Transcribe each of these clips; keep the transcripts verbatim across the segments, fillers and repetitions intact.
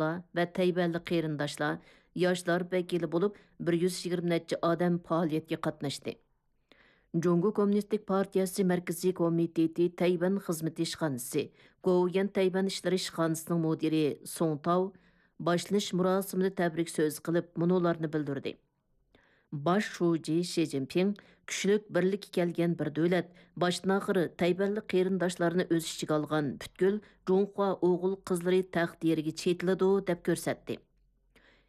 دوستلار ۋە تەيۋەنلىك قېرىنداشلار، ياشلار ۋەكىلى بولۇپ، بىر يۈز يىگىرمە نەچچە ئادەم پائالىيەتكە قاتناشتى. جۇڭگو كوممۇنىستىك پارتىيەسى مەركىزىي كومىتېتى تەيۋەن خىزمىتى ئىشخانىسى، گوۋۇيۈەن تەيۋەن ئىشلىرى ئىشخانىسىنىڭ مۇدىرى سۇڭ تاۋ باشلىنىش مۇراسىمىدا تەبرىك سۆزى قىلىپ، مۇنۇلارنى بىلدۈردى. باش شۇجى شى جىنپىڭ، كۈچلۈك بىرلىككە كەلگەن بىر دۆلەت، باشتىن-ئاخىر تەيۋەنلىك قېرىنداشلارنى ئۆز ئىچىگە ئالغان پۈتكۈل جۇڭخۇا ئوغۇل-قىزلىرى تەقدىرىگە چېتىلىدۇ، دەپ كۆرسەتتى.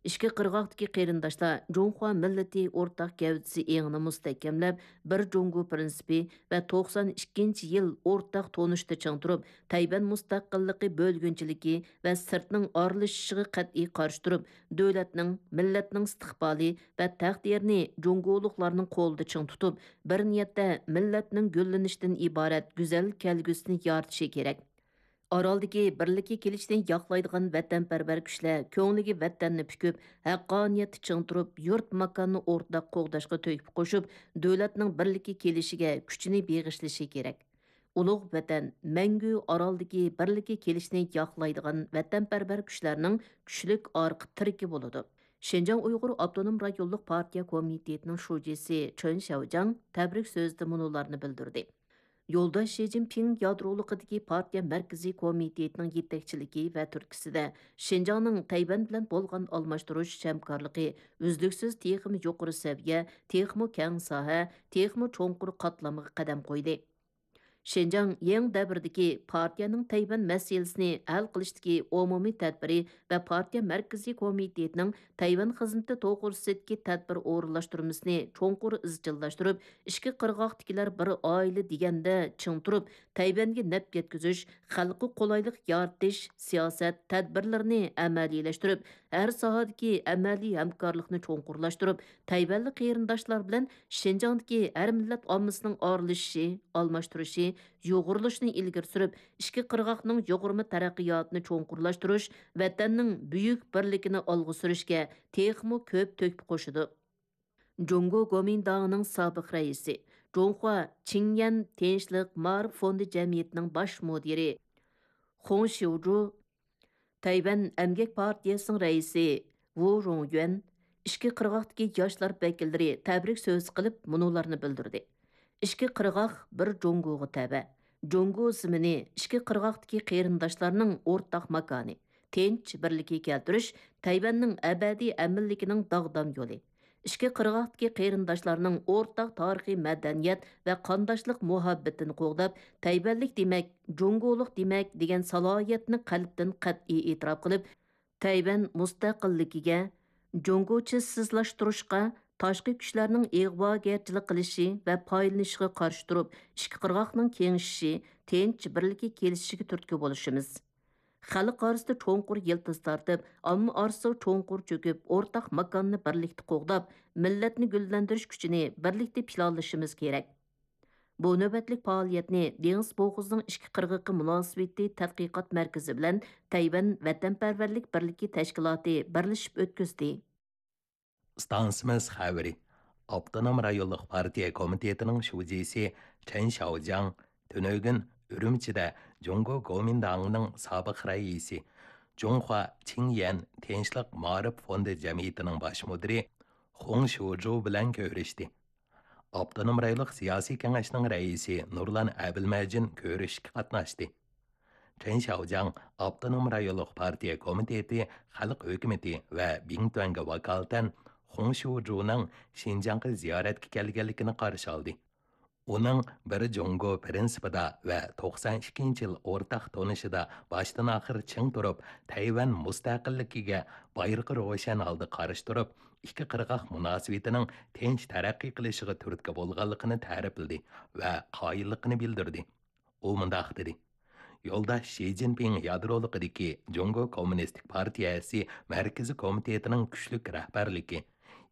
ئىككى قىرغاقتىكى قېرىنداشلار جۇڭخۇا مىللىتى ئورتاق گەۋدىسى ئېڭىنى مۇستەھكەملەپ، بىر جۇڭگو پىرىنسىپى ۋە توقسان ئىككىنچى يىل ئورتاق تونۇشتا چىڭ تۇرۇپ، تەيۋەن مۇستەقىللىقى بۆلگۈنچىلىكى ۋە سىرتنىڭ ئارىلىشىشىغا قەتئىي قارشى تۇرۇپ، دۆلەتنىڭ، مىللەتنىڭ ئىستىقبالى ۋە تەقدىرىنى جۇڭگولۇقلارنىڭ قولىدا چىڭ تۇتۇپ، بىر نىيەتتە مىللەتنىڭ گۈللىنىشىدىن ئىبارەت گۈزەل كەلگۈسىنى يارىتىشى كېرەك. ئارالدىكى بىرلىككە كېلىشنى ياقلايدىغان ۋەتەنپەرۋەر كۈچلەر كۆڭلىگە ۋەتەننى پۈكۈپ، ھەققانىيەتتە چىڭ تۇرۇپ، يۇرت ماكاننى ئورتاق قوغداشقا تۆھپە قوشۇپ، دۆلەتنىڭ بىرلىككە كېلىشىگە كۈچىنى بېغىشلىشى كېرەك. ئۇلۇغ ۋەتەن مەڭگۈ ئارالدىكى بىرلىككە كېلىشنى ياقلايدىغان ۋەتەنپەرۋەر كۈچلەرنىڭ كۈچلۈك ئارقا تىرىكى بولىدۇ. شىنجاڭ ئۇيغۇر ئاپتونوم رايونلۇق پارتىيە كومىتېتىنىڭ شۇجىسى چېن شياۋجياڭ تەبرىك سۆزىدە مۇنۇلارنى بىلدۈردى. يولداش شى جىنپىڭ يادرولۇقىدىكى پارتىيە مەركىزىي كومىتېتىنىڭ يېتەكچىلىكى ۋە تۈرتكىسىدە شىنجاڭنىڭ تەيۋەن بىلەن بولغان ئالماشتۇرۇش ھەمكارلىقى ئۈزلۈكسىز تېخىمۇ يۇقىرى سەۋىيە، تېخىمۇ كەڭ ساھە، تېخىمۇ چوڭقۇر قاتلامغا قەدەم قويدى. شىنجاڭ يېڭى دەۋردىكى پارتىيەنىڭ تەيۋەن مەسىلىسىنى ھەل قىلىشتىكى ئومۇمىي تەدبىرى ۋە پارتىيە مەركىزىي كومىتېتىنىڭ تەيۋەن خىزمىتى توغرىسىدىكى تەدبىر ئورۇنلاشتۇرمىسىنى چوڭقۇر ئىزچىللاشتۇرۇپ، ئىككى قىرغاقتىكىلەر بىر ئائىلە دېگەندە چىڭ تۇرۇپ، تەيۋەنگە نەپ يەتكۈزۈش، خەلققە قولايلىق يارىتىش سىياسەت تەدبىرلىرىنى ئەمەلىيلەشتۈرۈپ، ھەر ساھەدىكى ئەمەلىي ھەمكارلىقنى چوڭقۇرلاشتۇرۇپ، تەيۋەنلىك قېرىنداشلار بىلەن شىنجاڭدىكى ھەر مىللەت ئاممىسىنىڭ ئارىلىشىشى، ئالماشتۇرۇشى، يۇغۇرۇلۇشىنى ئىلگىرى سۈرۈپ، ئىككى قىرغاقنىڭ يۇغۇرما تەرەققىياتىنى چوڭقۇرلاشتۇرۇش، ۋەتەننىڭ بۈيۈك بىرلىكىنى ئالغا سۈرۈشكە تېخىمۇ كۆپ تۆھپە قوشىدۇ. جۇڭگو گومىنداڭىنىڭ سابىق رەئىسى، جۇڭخۇا چىڭيەن تىنچلىق مائارىپ فوندى جەمئىيىتىنىڭ باش مۇدىرى خۇڭ شيۇجۇ، تەيۋەن ئەمگەك پارتىيەسىنىڭ رەئىسى ۋۇ رۇڭيۈەن، ئىككى قىرغاقتىكى ياشلار ۋەكىللىرى تەبرىك سۆزى قىلىپ، مۇنۇلارنى بىلدۈردى. ئىككى قىرغاق بىر جۇڭگوغا تەۋە. جۇڭگو زېمىنى ئىككى قىرغاقتىكى قېرىنداشلارنىڭ ئورتاق ماكانى، تىنچ، بىرلىككە كەلتۈرۈش، تەيۋەننىڭ ئەبەدىي ئەمىنلىكىنىڭ داغدام يولى. ئىككى قىرغاقتىكى قېرىنداشلارنىڭ ئورتاق تارىخىي مەدەنىيەت ۋە قانداشلىق مۇھەببىتىنى قوغداپ، تەيۋەنلىك دېمەك، جۇڭگولۇق دېمەك دېگەن سالاھىيەتنى قەلبتىن قەتئىي ئېتىراپ قىلىپ، تەيۋەن مۇستەقىللىكىگە، جۇڭگوچىسىزلاشتۇرۇشقا، تاشقى كۈچلەرنىڭ ئىغۋاگەرچىلىك قىلىشى ۋە پايدىلىنىشىغا قارشى تۇرۇپ، ئىككى قىرغاقنىڭ كېڭىشىشى، تىنچ، بىرلىككە كېلىشىشىگە تۈرتكە بولۇشىمىز. خەلق ئارىسىدا چوڭقۇر يىلتىز تارتىپ، ئامما ئارىسىغا چوڭقۇر چۆكۈپ، ئورتاق ماكاننى بىرلىكتە قوغداپ، مىللەتنى گۈللەندۈرۈش كۈچىنى بىرلىكتە پىلانلىشىمىز كېرەك. بۇ نۆۋەتلىك پائالىيەتنى دېڭىز بوغۇزىنىڭ ئىككى قىرغىقى مۇناسىۋىتى تەتقىقات مەركىزى بىلەن تەيۋەن ۋەتەنپەرۋەرلىك بىرلىكى تەشكىلاتى بىرلىشىپ ئۆتكۈزدى. ئىستانسىمىز خەۋىرى. ئاپتونوم رايونلۇق پارتىيە كومىتېتىنىڭ شۇجىسى چېن شياۋجياڭ تۈنۈگۈن ئۈرۈمچىدە جۇڭگو گومىنداڭىنىڭ سابىق رەئىسى، جۇڭخۇا چىڭيەن تىنچلىق مائارىپ فوندى جەمئىيىتىنىڭ باش مۇدىرى خۇڭ شيۇجۇ بىلەن كۆرۈشتى. ئاپتونوم رايونلۇق سىياسىي كېڭەشنىڭ رەئىسى نۇرلان ئەبىلمەجىن كۆرۈشۈشكە قاتناشتى. چېن شياۋجياڭ ئاپتونوم رايونلۇق پارتىيە كومىتېتى خەلق ھۆكۈمىتى ۋە بىڭتۈەنگە ۋاكالىتەن خۇڭ شيۇجۇنىڭ شىنجاڭغا زىيارەتكە كەلگەنلىكىنى قارشى ئالدى. ئۇنىڭ بىر جۇڭگو پىرىنسىپىدا ۋە توقسان ئىككىنچى يىل ئورتاق تونۇشىدا باشتىن-ئاخىر چىڭ تۇرۇپ، تەيۋەن مۇستەقىللىكىگە بايرىقى روشەن ھالدا قارشى تۇرۇپ، ئىككى قىرغاق مۇناسىۋىتىنىڭ تىنچ تەرەققىي قىلىشىغا تۈرتكە بولغانلىقىنى تەرىپلىدى ۋە قايىللىقىنى بىلدۈردى. ئۇ مۇنداق دېدى: يولداش شى جىنپىڭ يادرولۇقىدىكى جۇڭگو كوممۇنىستىك پارتىيەسى مەركىزىي كومىتېتىنىڭ كۈچلۈك رەھبەرلىكى،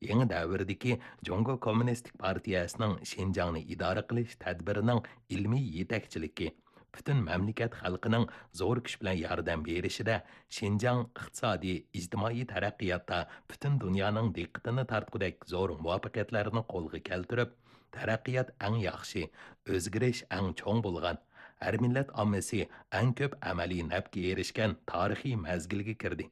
يېڭى دەۋردىكى جۇڭگو كوممۇنىستىك پارتىيەسىنىڭ شىنجاڭنى ئىدارە قىلىش تەدبىرىنىڭ ئىلمىي يېتەكچىلىكى، پۈتۈن مەملىكەت خەلقىنىڭ زور كۈچ بىلەن ياردەم بېرىشىدە شىنجاڭ ئىقتىسادىي، ئىجتىمائىي تەرەققىياتتا پۈتۈن دۇنيانىڭ دىققىتىنى تارتقۇدەك زور مۇۋەپپەقىيەتلەرنى قولغا كەلتۈرۈپ، تەرەققىيات ئەڭ ياخشى، ئۆزگىرىش ئەڭ چوڭ بولغان، ھەر مىللەت ئاممىسى ئەڭ كۆپ ئەمەلىي نەپكە ئېرىشكەن تارىخىي مەزگىلگە كىردى.